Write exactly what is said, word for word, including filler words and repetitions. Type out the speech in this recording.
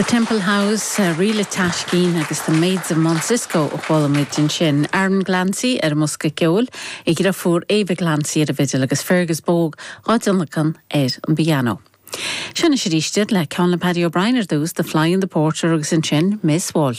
The Temple House, uh, Ríle Taiscín agus The Maids of Monsisco a chuala muid ansin. Aaron Glancy ar an mbosca ceoil, a dheirfiúr Ava Glancy ar an bhfidil agus Fergus Bogue á dtionlacan ar an bpianó. Sin is ríiste le ceann le Paddy O'Brien ar dtús, The Fly and the Porter agus ansin Miss Walsh.